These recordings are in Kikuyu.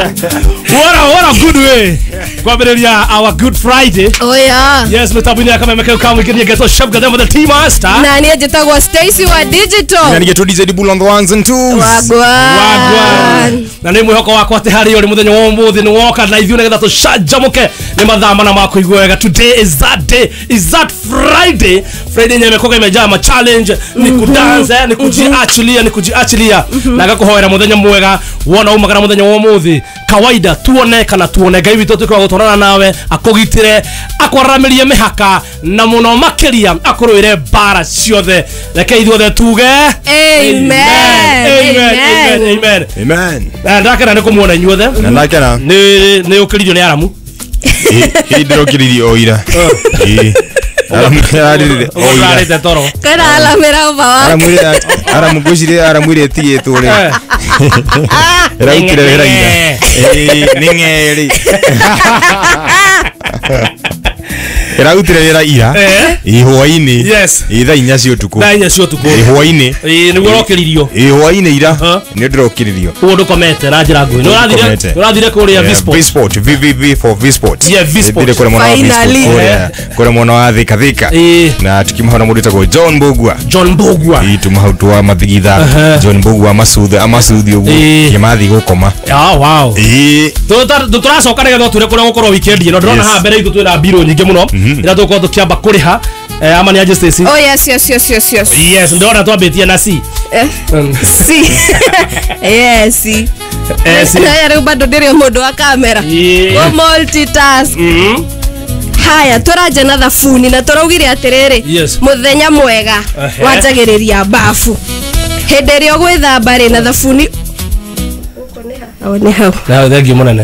What a good way kwambĩrĩria our Good Friday. Oh yeah. Yes, mĩtambo-inĩ ya Kameme kau kamũingĩria ngetwo Chef Gathemba the Tea Master. Na niĩ njĩtagwo Stacy wa digital. Na nĩgetwo DJ Bull on the ones and twos. Wagwan. Wagwan. Na nĩ mwĩhoko wakwa atĩ harĩ ũrĩ mũthenya wa ũmũthĩ nĩ woka na ithuĩ nĩgetha tũcanjamũke nĩ mathaa mana ma kũigua wega. Today is that day, is that Friday. Friday yenyewe imekuwa imejaa ma challenge, ni kudance, ni kujiachilia, ni kujiachilia. Na ngakũhoera mũthenya mwega wona umagara mũthenya wa ũmũthĩ kawaida tuone kana tuone Ngai witũ tuĩke wa gũtwarana nawe, akũgitĩre, akwaramĩrie mĩhaka na mũno makĩria akũrũĩre mbara ciothe. Reke ithuothe tuge Amen. Amen. Amen. Amen. Amen. Na ndakena nĩ kũmuona inyuothe. Na ndakena. Nĩ ũkĩririo nĩ Aramu. Ĩ ndĩrokĩririe o ira. Ĩ. Aramu ararĩrĩre o ira. Ũrarĩte toro. Kwĩna alamĩra ũba wake. Aramwĩre Aramu ngwĩciria aramwĩre ĩtigĩtwo rĩ. Ĩrautire wĩra ira. Ĩ nĩ ng'erĩ. Ĩrautire wĩra ira. Ĩ hwaĩ-inĩ. Yes. Ĩ thaa inya cia ũtukũ. Thaa inya cia ũtukũ. Ĩ hwaĩ-inĩ. Ĩ nĩguo ũrokĩririo. Ĩ hwaĩ-inĩ ira. Huh? Nĩ ndĩrokĩririo. Ũguo ndũkomete na njĩra nguhĩ. Ndũkomete. Nĩ ũrathire kũrĩa V-Sport. V-Sport, VVV for V-Sport. Yeah, V-Sport. Thire kũrĩa mwena wa V-Sport, Finally. kũrĩa mwena wa Thika Thika. Ĩ. Na tukimahona mũndũ wĩtagwo John Mbugua. John Mbugua. Ĩ tuma hau twa mathigitha. John Mbugua amacuthe amacuthe ũguo. Ĩ. Kĩmathi gũkoma. Ah, wow. Ĩ. Tũracoka nĩgetha twĩre kũrĩa gũkorwo weekend ĩno. Ndĩrona Yes. haha mbere itũ twĩna mbirũ nyingĩ mũno ira tũgũkorwo tũkĩamba kũrĩha. Ama nĩ aje Stacy? Oh yes, yes, yes, yes, yes. Yes, ndĩrona twambĩtie na C. Eh, si. Yes. C. Na rĩu bado ndĩrĩ o mũndũ wa kamera. Yeah. Go multitask. Haya, tũranja na thabuni na tũraugire atĩrĩrĩ. Yes. Mũthenya mwega Ehe. wanjagĩrĩria bafu. Hĩndĩ ĩrĩa ũgwĩthamba rĩ na thabuni. Oh, nĩ hau. Na thank you mũnene.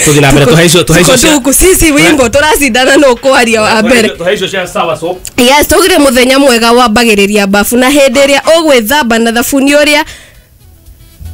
Tũthiĩ na mbere tũhe icio tũhe icio cia Tuko sisi wimbo tũracindana no kwaria wa mbere. tũhe icio cia sawa soap. Yes, tũgire mũthenya mwega wambagĩrĩria bafu na hĩndĩ ĩrĩa ũgwĩthamba na thabuni ũrĩa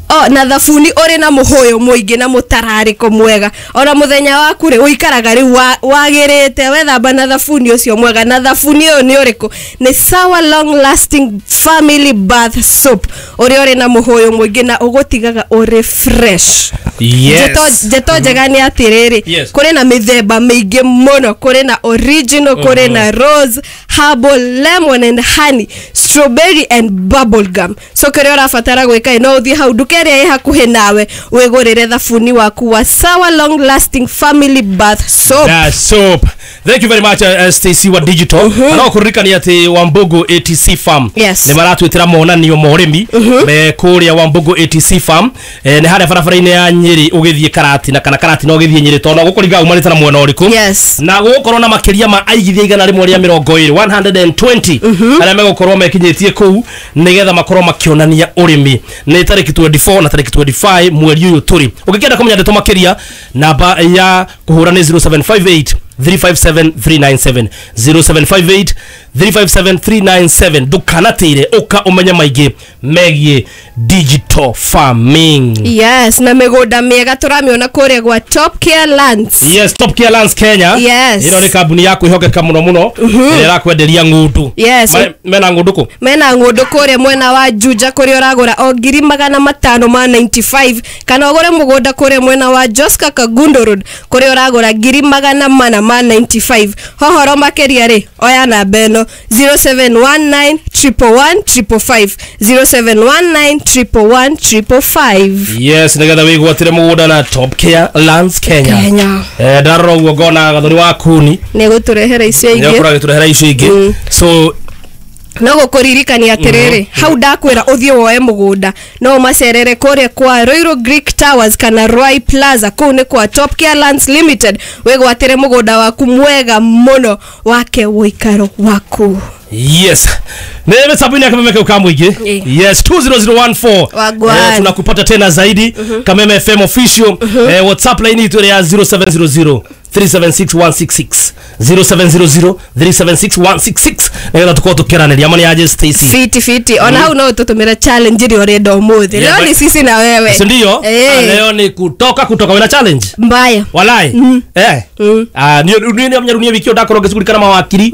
o na thabuni ũrĩ na mũhũyũ mũingĩ na mũtararĩko mwega ona mũthenya waku rĩ ũikaraga rĩu wagĩrĩte wethamba na thabuni ũcio mwega. Na thabuni ũyũ nĩ ũrĩkũ? Nĩ Sawa Long Lasting Family Bath Soap ũrĩa ũrĩ na mũhũyũ mũingĩ na ũgũtigaga ũrĩ fresh. Yes. Ndeto njega nĩ atĩrĩrĩ, Yes. kũrĩ na mĩthemba mĩingĩ mũno, kũrĩ na original, kũrĩ na rose, herbal, lemon and honey, strawberry and bubble gum. So kĩrĩa ũrabatara gwĩka no ũthiĩ hau nduka ĩrĩa ĩ hakuhĩ nawe wĩgũrĩre thabuni waku wa Sawa Long Lasting Family Bath Soap. That soap. Thank you very much, Stacy wa digital. Na no kũririkania atĩ Wambugu ATC Farm Yes. nĩ maratwĩtĩra monanio ma ũrĩmi me kũrĩa Wambugu ATC Farm, nĩ harĩa barabara-inĩ ya Nyĩrĩ ũgĩthiĩ Karatina kana Karatina ũgĩthiĩ Nyĩrĩ tondũ gũkũringa umanĩte na mwena ũrĩkũ. Yes. Na gũgũkorwo na makĩria ma aigithia 120 120 arĩa megũkorwo mekinyĩtie kũu nĩgetha makorwo makĩonania ũrĩmi. Nĩ tarĩki 24 na tarĩki 25 mweri ũyũ tũrĩ. Ũngĩkĩenda kũmenya ndeto makĩria, namba ya kũhũra nĩ 0758 357 397 0758 357 397. Ndũkanatĩre, ũka ũmenye maingĩ megiĩ digital farming. Yes, na mĩgũnda mĩega tũramĩona kũrĩa gwa Top Care Lands. Yes, Top Care Lands Kenya. Yes. Ĩno nĩ kambuni ya kwĩhokeka mũno mũno ĩrĩa ĩrakwenderia ng'ũndũ. Yes. Mena ng'ũndũ kũ? Mena ng'ũndũ kũrĩa mwena wa Juja kũrĩa ũragũra o 595,000 kana ũgũre mũgũnda kũrĩa mwena wa Joska Kagundo Road kũrĩa ũragũra 495,000. Hohoro makĩria rĩ, oya namba ĩno 0719 111 555 0719 111 555. Yes, nĩgetha wĩgwatĩre mũgũnda na Top Care Lands Kenya. Kenya. Ndarora ũguo ngona Gathoni wa Kuni Nĩ gũtũrehera icio nĩ ingĩ. ũkorwo agĩtũrehera icio ingĩ. So No gũkũririkania atĩrĩrĩ, hau ndakwĩra ũthiĩ woe mũgũnda no ũmacerere kũrĩa kwa Ruiru Greek Towers kana Ruai Plaza, kũu nĩ kwa Top Care Lands Limited, wĩgwatĩre mũgũnda waku mwega mũno wake ũikaro waku. Yes. Nĩ mĩtambo-inĩ ya Kameme kau ka mũingĩ. Yes, 20014. Wagwan. Tunakupata tena zaidi. Kameme FM official. WhatsApp line yetu ya 0700 376 166 0700 376 166 nigetha tukorwo tukiaranĩria ama nĩ aje Stacy. Fiti fiti. Ona hau no tũtũmĩre challenge ĩrĩa ũrenda ũmũthĩ. Yeah, Leo ni but- sisi na wewe. Si ndio? Eh. Leo ni kutoka wena challenge. Mbaya. Walai. Eh. Ah, ni ni ni amnyarunia wiki ndakorwo ngĩcugurika na mawakiri,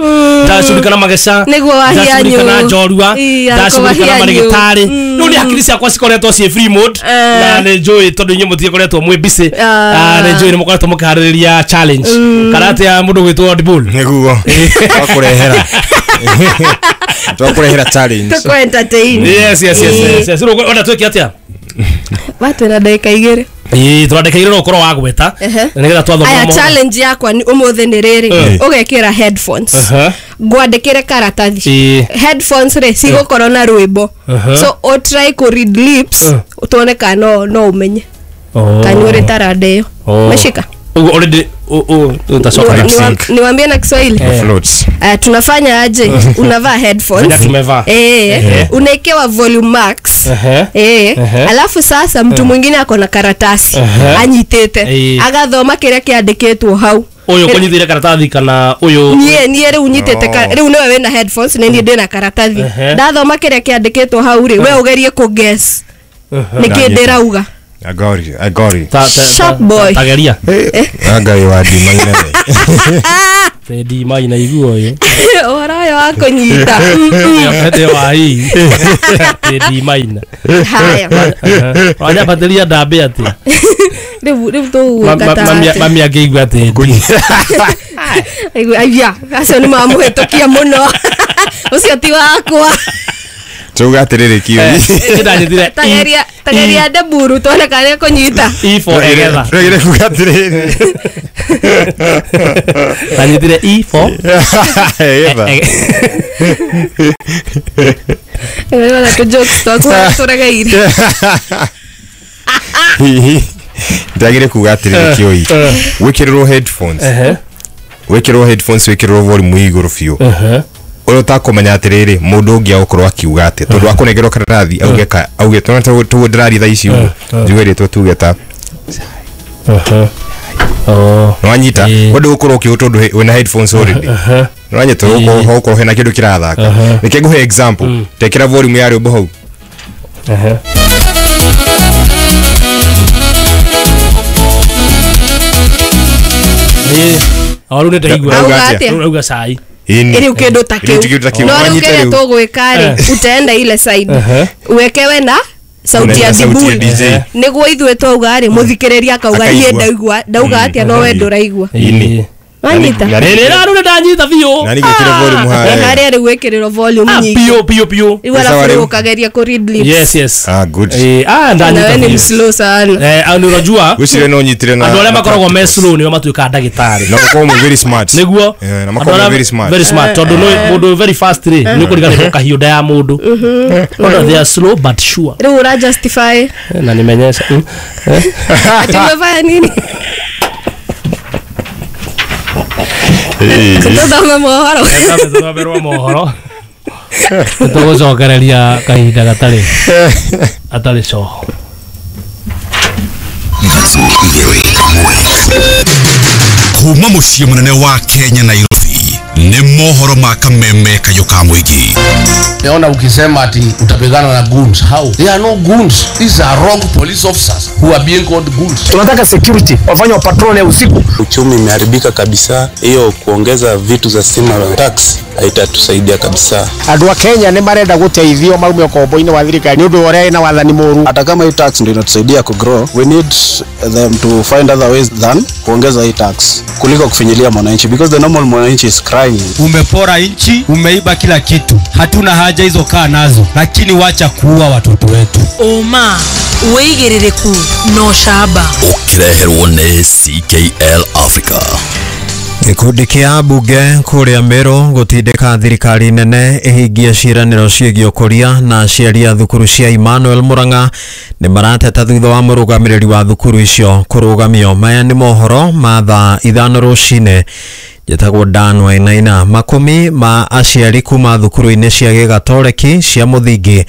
ndacugurika na mageca, Nĩguo wahianyu. ndacugurika na njorua, Ii, ndacugurika na wahianyu. marĩgĩtarĩ. Rĩu nĩ hakiri ciakwa cikoretwo ciĩ free mode na nĩ njũĩ tondũ inyuĩ mũtigĩkoretwo mwĩ busy. Ah. Ah, nĩ njũĩ nĩ mũkoretwo mũkĩharĩrĩria challenge. Kana atĩa mũndũ gwĩtwo Dibul? Nĩguo. Twakũrehera. Twakũrehera challenge. Tũkũ entertain. Yes, yes, yes, yes, yes. Rĩu ona twĩke atĩa? Watwĩra ndagĩka igĩrĩ. Ĩĩ, tũrandĩkĩire no ũkorwo wa gweta. Ehe. Nĩgetha twathoma Aya mohoro. challenge yakwa ni ũmũthĩ nĩ rĩrĩ. Eh. Ũgekĩra headphones. Aha. Ngwandĩkĩre karatathi. Ĩĩ. Headphones rĩ cigũkorwo na rwĩmbo. Aha. So o try kũ read lips Eh. tuone kana no ũmenye. Oh. Kana nĩ ũrĩ taranda ĩyo. Oh. Meshika. Ũguo already utacoka Lip sync. Niwaambie na Kiswahili. Eh. Floats. Tunafanya aje? Unavaa headphones. Vile tumevaa. Eh, Ehe. unaekewa volume max. Ehe. Eh, Ehe. alafu sasa mtu mwingine ako na karatasi Ehe. anyitĩte Eh. agathoma kĩrĩa kĩandĩkĩtwo hau. Ũyũ kũnyitĩire karatathi kana ũyũ Niĩ rĩu nyitĩte Oh. rĩu nĩwe wĩna headphones na niĩ ndĩna karatathi. Ehe. Ndathoma kĩrĩa kĩandĩkĩtwo hau rĩ, we ũgerie kũ guess nĩkĩ Ndanyita. ndĩrauga. I got it. I got it. Sharp boy. Tageria. Ngai wa ndima inene. Tendi mai na igua ũyũ. Ũhoro ũyũ wa kũnyita. Ete wa hii. Tendi mai na. Haya. Wanyambatĩria ndambĩ atĩa? Rĩu tũgũgwĩka ta atĩa? Mami angĩigua atĩ. Aigua, aya, acio nĩ mamũhĩtũkia mũno. Ũcio ti wakwa. Tuga atĩrĩrĩ kiu. Ndanyitire. Tageria tageria ndeburu tuone kana nĩekũnyita. E for egetha. Tũgire kuga atĩrĩrĩ. Ndanyitire E for Egetha. Nĩwona tũ jokes twaku tũregeire. Ndagire kuga atĩrĩrĩ kioi. Wĩkĩrĩrwo headphones. Ehe. Wĩkĩrĩrwo headphones wĩkĩrĩrwo volume igũrũ biũ. Ehe. Ũrĩa ũtakũmenya atĩrĩrĩ mũndũ ũngĩ agũkorwo akiuga atĩ tondũ akũnengerwo karatathi auge ka auge tondũ tũguo ndĩraria thaa ici ũguo njuge rĩtwa tuge ta Ehe. Oh. nĩwanyita Ĩĩ. we ndũgũkorwo ũkĩũ tondũ wĩna headphones already Ehe. nĩwanyita ũgũkorwo hena kĩndũ kĩrathaka reke ngũhe example tekĩra volume ya rwĩmbo hau. Ehe. Ĩĩ. O rĩu nĩndaigua. Auga Auga atĩa? Rĩu rauga cai. Ĩni. Rĩu kĩndũ ta Rĩu kĩndũ ta kĩu. kĩu. No rĩu Wanyita kĩrĩa rĩu. tũgwĩka rĩ, utaenda ile side. Ehe. Wekewe na sauti ya Unaenda sauti ya Dibul. DJ. Nĩguo ithuĩ twauga rĩ, mũthikĩrĩria akauga niĩ Akaigua. ndaigua, ndauga atĩa no we ndũraigua. Ĩĩ. Wanyita? Na- Rĩrĩ rĩu nĩndanyita biũ. Na ningĩkĩra volume harĩa. Harĩa rĩu wĩkĩrĩrwo volume Ah, nyingĩ. biũ biũ biũ. Rĩu arabu Sawa rĩu rĩu. ũkageria kũ read lips. Yes, yes. Ah, good. Eh, ah, Na ndanyita we nĩ biũ. mslow sana. Eh, ah, nĩ ũrajua Gwĩciria no nyitire na andũ arĩa na makoragwo me practicals. slow nĩo matuĩkaga ndagĩtarĩ. Na makoragwo me very smart. Nĩguo. Eh, na Andũ makoragwo arĩa me very smart. Very smart tondũ nĩ mũndũ very fast rĩ nĩ ũkũriganĩrwo kahiũ nda ya mũndũ. Ona they are slow but sure. Rĩu ũra justify Eh, na nimenyesha. Eh. ati umefanya nini? Ĩĩ. Tũthome mohoro. Tũthomerwo mohoro. Tũgũcokereria kahinda gatarĩ gatarĩ coho. Kuma muciĩ mũnene wa Kenya Nairobi nĩ mohoro ma kameme kayũ ka mũingĩ. Naona ukisema ati utapigana na goons. How? There are no goons. These are wrong police officers who are being called goons. Tunataka security wafanye patrol ya usiku. Uchumi imeharibika kabisa, hiyo kuongeza vitu za stima tax haitatusaidia kabisa. Andũ a Kenya nĩ marenda gũteithio maume ũkombo-inĩ wa thirikari nĩ ũndũ wa ũrĩa ĩna wathani mũru. Hata kama hii tax ndio inatusaidia kugrow, we need them to find other ways than kuongeza hii tax kuliko kufinyilia mwananchi because the normal mwananchi is crying. Umepora nchi, umeiba kila kitu, hatuna haja hizo, kaa nazo, lakini wacha kuua watoto wetu. Ũma wĩigĩrĩrĩku na ũcamba. Ũkĩreherwo nĩ CKL Africa. Gĩkundi kĩa mbunge kũrĩa Meru gũtindĩka thirikari nene ĩhingie ciĩranĩro ciĩgiĩ ũkũria na aciari a thukuru cia Emmanuel Murang'a nĩ marateta thutha wa mũrũgamĩrĩri wa thukuru icio kũrũgamio. Maya nĩ mohoro ma thaa 5 rũcinĩ. Njĩtagwo Dan Wainaina. Makumi ma aciari kuma thukuru-inĩ cia gĩgatoreki cia mũthingi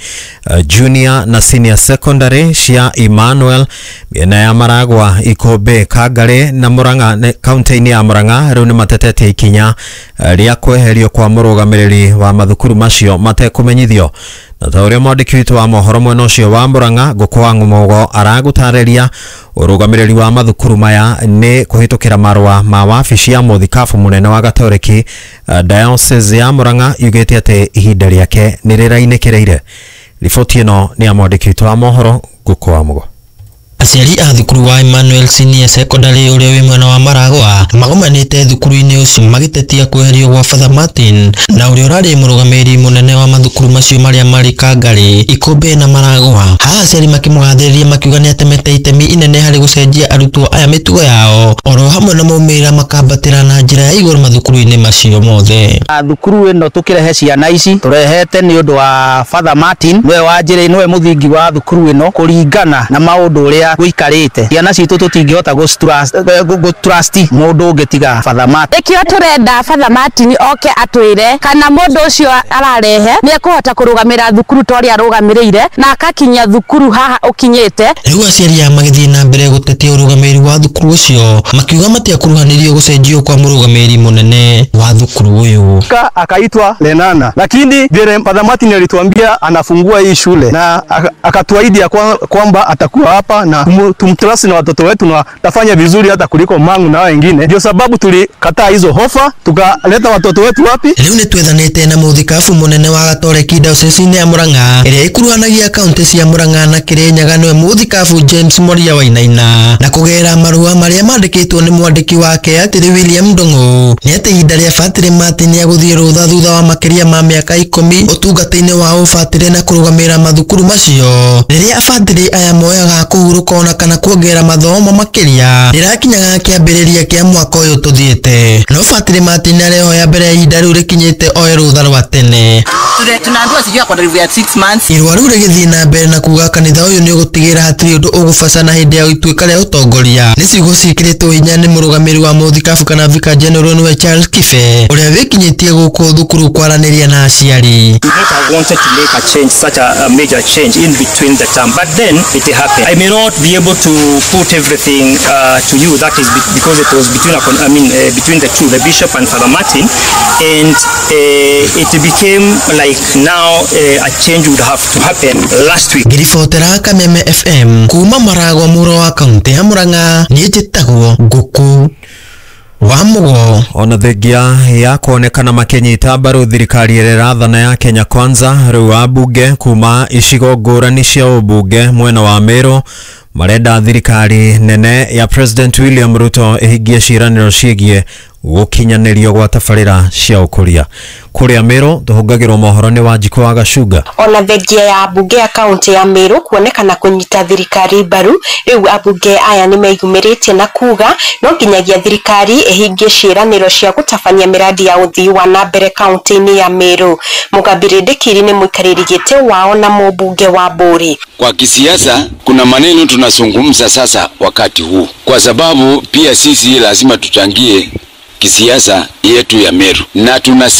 junior na senior secondary cia Emmanuel mĩena ya Maragwa, Ikũmbĩ, Kangarĩ na Murang'a kaunti-inĩ ya Murang'a rĩu nĩ matetetie ikinya rĩa kweherio kwa mũrũgamĩrĩri wa mathukuru macio matekũmenyithio. Na ta ũrĩa mwandĩki witũ wa mohoro mwena ũcio wa Murang'a Ngũkũ wa Ng'ũmũgo aragũtarĩria, ũrũgamĩrĩri wa mathukuru maya nĩ kũhĩtũkĩra marũa ma wabici ya mũthikabu mũnene wa Gatoreki Diocese ya Murang'a yugĩte atĩ ihinda rĩake nĩ rĩrainĩkĩrĩire. Riboti ĩno nĩ ya mwandĩki witũ wa mohoro Ngũkũ wa Mũgo. Aciari a thukuru wa Emmanuel Senior Secondary ũrĩa wĩ mwena wa Maragwa magomanĩte thukuru-inĩ ũcio magĩtetia kweherio gwa Father Martin na ũrĩa ũrarĩ mũrũgamĩrĩri mũnene wa mathukuru macio marĩa marĩ Kangarĩ, Ikũmbĩ na Maragwa. Haha aciari makĩmũgathĩrĩria makiuga nĩatemete itemi inene harĩ gũcenjia arutwo aya mĩtugo yao oro hamwe na maumĩrĩra makambatĩra na njĩra ya igũrũ mathukuru-inĩ macio mothe. Thukuru ĩno tũkĩrehe ciana ici tũrehete nĩ ũndũ wa Father Martin, nĩwe wanjĩrĩ, nĩwe mũthingi wa thukuru ĩno kũringana na maũndũ ũrĩa gũikarĩte. Ciana citũ tũtingĩhota gũ-trust mũndũ ũngĩ tiga Father Martin. Ĩkĩo tũrenda Father Martin oke atwĩre kana mũndũ ũcio ararehe nĩ ekũhota kũrũgamĩra thukuru ta ũrĩa arũgamĩrĩire na akakinyia thukuru haha ũkinyĩte. Rĩu aciari aya magĩthiĩ na mbere gũtetia ũrũgamĩrĩri wa thukuru ũcio makiuga matiakuruhanirio gũcenjio kwa mũrũgamĩrĩri mũnene wa thukuru ũyũ. Akaitwa Lenana, lakini vile Father Martin alituambia anafungua hii shule na akatuahidi kwamba atakuwa hapa na tumtrust na watoto wetu na tafanya vizuri hata kuliko mangu na wengine. Ndio sababu tulikataa hizo hofa tukaleta watoto wetu wapi. Rĩu nĩ twethanĩte na mũthikabu mũnene wa Gatoreki Diocese ya Murang'a ĩrĩa ĩkuruhanagia kaunti cia Murang'a na Kĩrĩnyaga nĩwe mũthikabu James Moria Wainaina, na kũgerera marũa marĩa mandĩkĩtwo nĩ mwandĩki wake atĩrĩ William Ndung'u nĩ atĩ ihinda rĩa Fatĩrĩ Martin ya gũthiĩ rũtha thutha wa makĩria ma mĩaka 10 ũtungata-inĩ wa ũbatĩrĩ na kũrũgamĩrĩra mathukuru macio rĩrĩa abatĩrĩ aya moyaga kũhurũka ona kana kuongerera mathomo makĩria rĩrakinyaga kĩambĩrĩria kĩa mwaka ũyũ tũthiĩte. No Fatĩrĩ Martin arehoya mbere ya ihinda rĩu rĩkinyĩte oe rũtha rwa tene. Tunaambiwa sijui akona review ya 6 months. Irũa rĩu rĩgĩthiĩ na mbere na kuga kanitha ũyũ nĩ ũgũtigĩra hatirĩ ũndũ ũgũbacana hĩndĩ ya ituĩka rĩa ũtongoria. Nĩ ciugo ciĩkĩrĩtwo hinya nĩ mũrũgamĩrĩri wa mũthikabu kana Vicar General nĩwe Charles Kibe ũrĩa wĩkinyĩtie gũkũ thukuru kwaranĩria na aciari. We not have wanted to make a change, such a major change in between the term, but then it happened. I may not be able to put everything to you. That is because it was between between the two, the bishop and Father Martin, and it became like now a change would have to happen last week. Ngiribotera Kameme FM kuma Maragwa mũro wa kaunti ya Murang'a, niĩ njĩtagwo Ngũkũ wa Mũgo. Ona thengia ya kuonekana makinyita mbaru thirikari ĩrĩa ĩrathana ya Kenya Kwanza, rĩu ambunge kuma icigo ngũrani cia ũmbunge mwena wa Meru marenda thirikari nene ya President William Ruto ĩhingie ciĩranĩro ciĩgiĩ gũkinyanĩrio gwa tabarĩra cia ũkũria. Kũrĩa Meru tũhũngagĩrwo mohoro nĩ Wanjikũ wa Gacunga. Ona thengia ya ambunge ya kaunti ya Meru kuonekana kũnyita thirikari mbaru, rĩu ambunge aya nĩmeyumĩrĩtie na kuga no nginyagia thirikari ĩhingie ciĩranĩro cia gũtabania mĩradi ya ũthii wa na mbere kaunti-inĩ ya Meru. Mũgambĩri Ndĩkiri nĩ mũikarĩri gĩtĩ wao na mũmbunge wa Mbũri. Kwa kisiasa kuna maneno tunazungumza sasa wakati huu, kwa sababu pia sisi lazima tuchangie kisiasa yetu ya Meru na tuna